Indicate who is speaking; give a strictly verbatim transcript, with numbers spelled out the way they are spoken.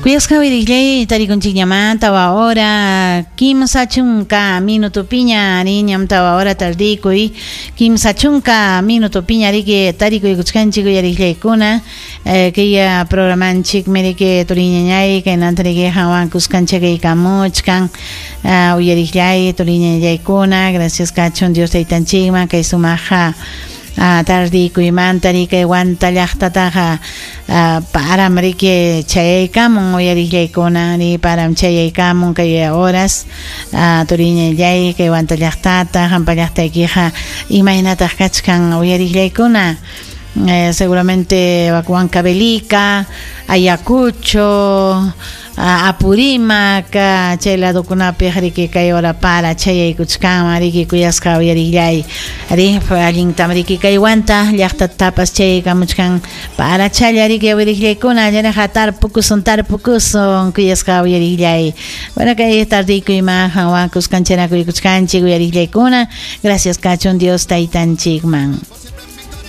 Speaker 1: Kuyasqa uyariqllay tarikunchikñamanta tawa hora kimsa chunka minutupiña riñam tawa hora tardikuy kimsa chunka minutupiña riki tarikuykuchkanchik uyariqllaykuna eh, kay programanchikmi riki turiñañay kaynanta riki hawan kuskanchakaykamuchkan uh, uyariqllay turiñañaykuna gracias kachun Dios taytanchikman kay sumaqa Uh, tardikuymanta riki Huanta llaqtataqa uh, param riki chayaykamun uyariqllaykuna ri param chayaykamun kay horas uh, turiñallay kay Huanta llaqtata hampa llaqtaykiqa imaynataq kachkan uyariqllaykuna eh, seguramente Huancavelica, Ayacucho, Apurímac, chay ladokunapi riki kay hora para chayaykuchkanman riki kuyasqa uyariqllay ri allintam riki kay Huanta llaqtatapas chayaykamuchkan para challa riki uyariqllaykuna llanaqa tarpukusun tarpukusun kuyasqa uyariqllay. Bueno, kay tardikuyman hanwan kuskancharakuykuchkanchik uyariqllaykuna gracias kachun Dios taytanchikman.